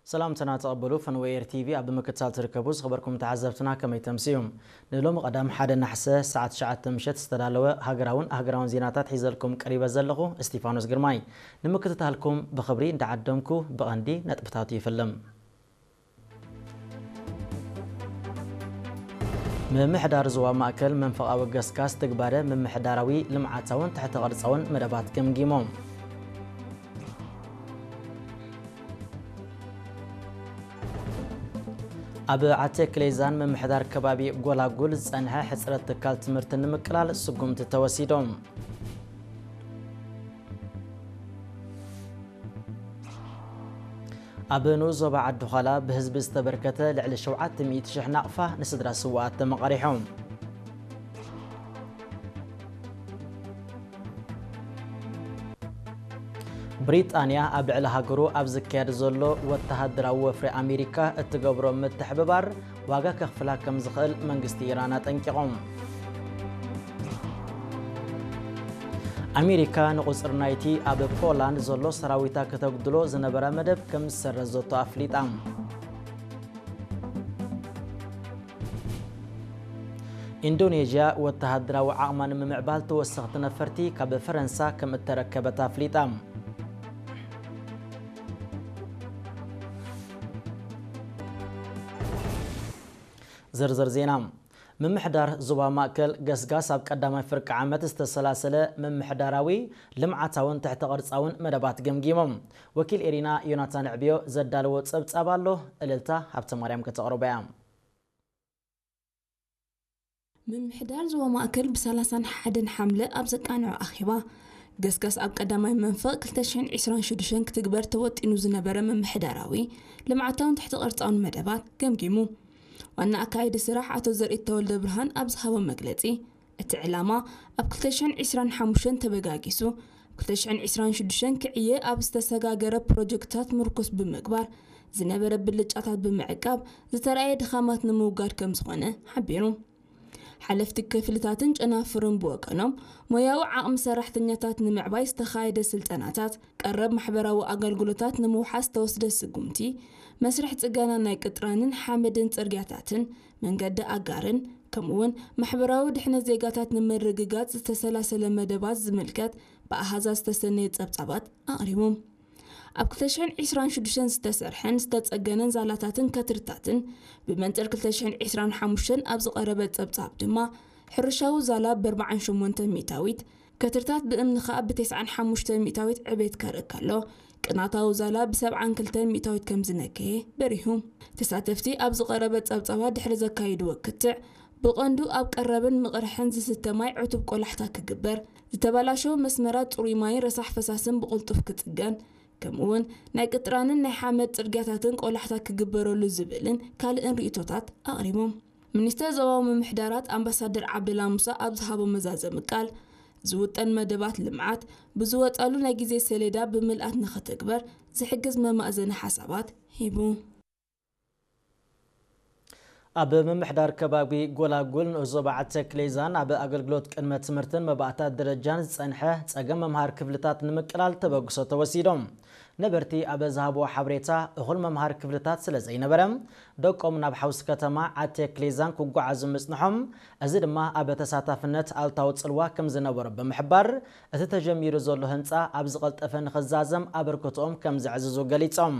ሰላምታና ተቐበሉ ፈንወየር ቲቪ ኣብ ምክትታል ትርከቡ ዝኸበርኩም ተዓዘብትና ከመይ ተምስዩ? ንሎሚ ቀዳም ሓደ ናሕሰ ሰዓት ትሽዓተ ምሸት ዝተዳለወ ሃገራውን ኣህገራውን ዜናታት ሒዘልኩም ቀሪበ ዘለኹ እስቲፋኖስ ግርማይ። ንምክትታልኩም ብኽብሪ እንዳዓደምኩ ብቐንዲ ነጥብታቱ ይፍልም። ምምሕዳር ዞባ ማእከል መንፈቓዊ ገስጋስ ትግባረ ምምሕዳራዊ ልምዓታውን ትሕተ ቅርጻውን መደባት ገምጊሞም። ኣብ ዓቴ ክሌዛን ምምሕዳር ከባቢ ጎላጉል ዝጸንሐ ሕጽረት ትካል ትምህርቲ ንምቅላል ስጉምቲ ተወሲዶም። ኣብ ንኡስ ዞባ ዓዲ ዃላ ብህዝቢ ዝተበርከተ ልዕሊ ሸውዓተ ሚእቲ ሽሕ ናቕፋ ንስድራ ስውኣት ተመቓሪሖም። ብሪጣንያ ኣብ ልዕሊ ሃገሩ ኣብ ዝካየድ ዘሎ ወተሃደራዊ ወፍሪ ኣሜሪካ እትገብሮ ምትሕብባር ዋጋ ከኽፍላ ከም ዝኽእል መንግስቲ ኢራን ኣጠንቂቖም። ኣሜሪካ ንቑጽሪ ናይቲ ኣብ ፖላንድ ዘሎ ሰራዊታ ከተጉድሎ ዝነበራ መደብ ከም ዝሰረዘቶ ኣፍሊጣ። ኢንዶኔዥያ ወተሃደራዊ ዓቕማ ንምምዕባል ተወሰኽቲ ነፈርቲ ካብ ፈረንሳ ከም እተረከበት ኣፍሊጣ። ዝርዝር ዜና። ምምሕዳር ዞባ ማእከል ገስጋስ ኣብ ቀዳማይ ፍርቂ ዓመት ዝተሰላሰለ ምምሕዳራዊ ልምዓታውን ትሕተ ቅርጻውን መደባት ገምጊሞም። ወኪል ኤሪና ዮናታን ዕብዮ ዘዳለዎ ጸብጻብ ኣሎ፣ እልልታ ሃብተማርያም ከተቕርቦ እያ። ምምሕዳር ዞባ ማእከል ብ ሰላሳን ሓደን ሓምለ ኣብ ዘቃንዖ ኣኼባ፣ ገስጋስ ኣብ ቀዳማይ መንፈቕ ክልተ ሽሕን ዕስራን ሽዱሽተን ክትግበር ተወጢኑ ዝነበረ ምምሕዳራዊ ልምዓታውን ትሕተ ቅርጻውን መደባት ገምጊሙ። ዋና ኣካያዲ ስራሕ ኣቶ ዘርኢት ተወልደ ብርሃን ኣብ ዝሃቦ መግለጺ፣ እቲ ዕላማ ኣብ ክልተ ሽሕን ዕስራን ሓሙሽተን ተበጋጊሱ፣ ክልተ ሽሕን ዕስራን ሽዱሽተን ክዕየ ኣብ ዝተሰጋገረ ፕሮጀክትታት ምርኩስ ብምግባር፣ ዝነበረ ብልጫታት ብምዕቃብ፣ ዝተራእየ ድኻማት ንምውጋድ ከም ዝኾነ ሓቢሩ። ሓለፍቲ ክፍልታትን ጨናፍርን ብወገኖም፣ ሞያዊ ዓቕሚ ሰራሕተኛታት ንምዕባይ ዝተኻየደ ስልጠናታት፣ ቀረብ ማሕበራዊ ኣገልግሎታት ንምውሓስ ዝተወስደ ስጉምቲ፣ መስርሕ ጽገና ናይ ቅጥራንን ሓመድን ጽርግያታትን፣ መንገዲ ኣጋርን፣ ከምኡውን ማሕበራዊ ድሕነት ዜጋታት ንምርግጋጽ ዝተሰላሰለ መደባት ዝምልከት ብኣሃዛት ዝተሰነየ ጸብጻባት ኣቕሪቦም። ኣብ ክልተ ሽሕን ዕስራን ሽዱሽተን ዝተሰርሐን ዝተጸገነን ዛላታትን ከትርታትን ብመንጽር ክልተ ሽሕን ዕስራን ሓሙሽተን ኣብ ዝቐረበ ጸብጻብ ድማ፣ ሕርሻዊ ዛላ ብ ኣርባዓን ሸሞንተን ሚእታዊት፣ ከትርታት ብእምኒ ከኣ ብ ተስዓን ሓሙሽተን ሚእታዊት ዕቤት ከርኢ ከሎ፣ ቅናታዊ ዛላ ብ ሰብዓን ክልተን ሚእታዊት ከም ዝነከየ በሪሁ። ተሳተፍቲ ኣብ ዝቐረበ ጸብጻባት ድሕሪ ዘካይድዎ ክትዕ፣ ብቐንዱ ኣብ ቀረብን ምቕርሕን ዝስተ ማይ ዕቱብ ቆላሕታ ክግበር፣ ዝተበላሸወ መስመራት ጽሩይ ማይን ረሳሕ ፈሳስን ብቕልጡፍ ክጽገን፣ ከምኡውን ናይ ቅጥራንን ናይ ሓመድ ጽርግያታትን ቆላሕታ ክግበረሉ ዝብልን ካልእን ርእይቶታት ኣቕሪቦም። ሚኒስተር ዞባዊ ምምሕዳራት ኣምባሳደር ዓብደላ ሙሳ ኣብ ዝሃቦ መዛዘሚ ቃል፣ ዝውጠን መደባት ልምዓት ብዝወጻሉ ናይ ግዜ ሰሌዳ ብምልኣት ንኽትግበር ዝሕግዝ መማእዘኒ ሓሳባት ሂቡ። ኣብ ምምሕዳር ከባቢ ጎላጉል ንኡስ ዞባ ዓዲ ተክሌዛን ኣብ ኣገልግሎት ቅድመ ትምህርትን መባእታ ደረጃን ዝጸንሐ ጸገም መምሃር ክፍልታት ንምቅላል ተበግሶ ተወሲዶም። ነበርቲ ኣብ ዝሃብዎ ሓበሬታ፣ እኹል መምሃር ክፍልታት ስለ ዘይነበረ፣ ደቆም ናብ ሓውሲ ከተማ ዓዲ ተክሌዛን ክጓዓዙ ምጽንሖም፣ እዚ ድማ ኣብ ተሳታፍነት ኣሉታዊ ጽልዋ ከም ዝነበሮ ብምሕባር፣ እቲ ተጀሚሩ ዘሎ ህንጻ ኣብ ዝቐልጠፈ ንኽዛዘም ኣበርክቶኦም ከም ዘዕዝዙ ገሊጾም።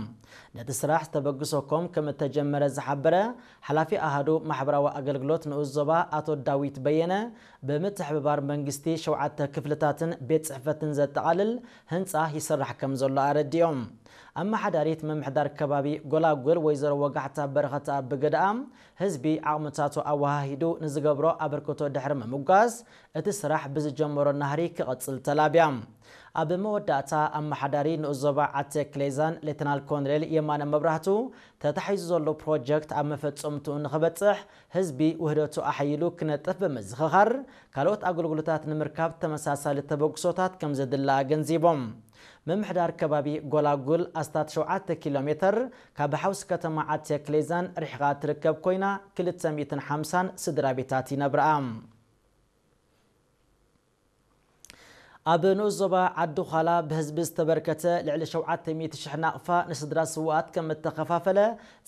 ነቲ ስራሕ ተበግሶ ኮም ከም እተጀመረ ዝሓበረ ሓላፊ ኣሃዱ ማሕበራዊ ኣገልግሎት ንኡስ ዞባ ኣቶ ዳዊት በየነ፣ ብምትሕብባር መንግስቲ ሸውዓተ ክፍልታትን ቤት ጽሕፈትን ዘጠቓልል ህንጻ ይስራሕ ከም ዘሎ ኣረዲኦም። ኣመሓዳሪት ምምሕዳር ከባቢ ጎላጉል ወይዘሮ ወጋሕታ በረኸት ኣብ ብግደኣ፣ ህዝቢ ዓቕምታቱ ኣወሃሂዱ ንዝገብሮ ኣበርክቶ ድሕሪ ምምጓስ፣ እቲ ስራሕ ብዝጀመሮ ናህሪ ክቕጽል ተላብያ። ኣብ መወዳእታ፣ ኣመሓዳሪ ንኡስ ዞባ ዓዲ ክሌዛን ሌተናል ኮሎኔል የማነ መብራህቱ፣ ተታሒዙ ዘሎ ፕሮጀክት ኣብ መፈጸምትኡ ንኽበጽሕ፣ ህዝቢ ውህደቱ ኣሐይሉ ክነጥፍ ብምዝኽኻር፣ ካልኦት ኣገልግሎታት ንምርካብ ተመሳሳሊ ተበግሶታት ከም ዘድሊ ኣገንዚቦም። ምምሕዳር ከባቢ ጎላጉል ኣስታት ሸውዓተ ኪሎ ሜተር ካብ ሓውሲ ከተማ ዓዲ ክሌዛን ርሒቓ ትርከብ ኮይና፣ ክልተ ሚእትን ሓምሳን ስድራ ቤታት ይነብርኣ። ኣብ ንኡስ ዞባ ዓዲ ዃላ ብህዝቢ ዝተበርከተ ልዕሊ ሸውዓተ ሚእቲ ሽሕ ናቕፋ ንስድራ ስውኣት ከም እተኸፋፈለ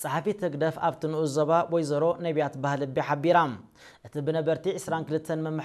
ጸሓፊት ህግደፍ ኣብቲ ንኡስ ዞባ ወይዘሮ ነቢያት ባህልቢ ሓቢራ። እቲ ብነበርቲ ዕስራን ክልተን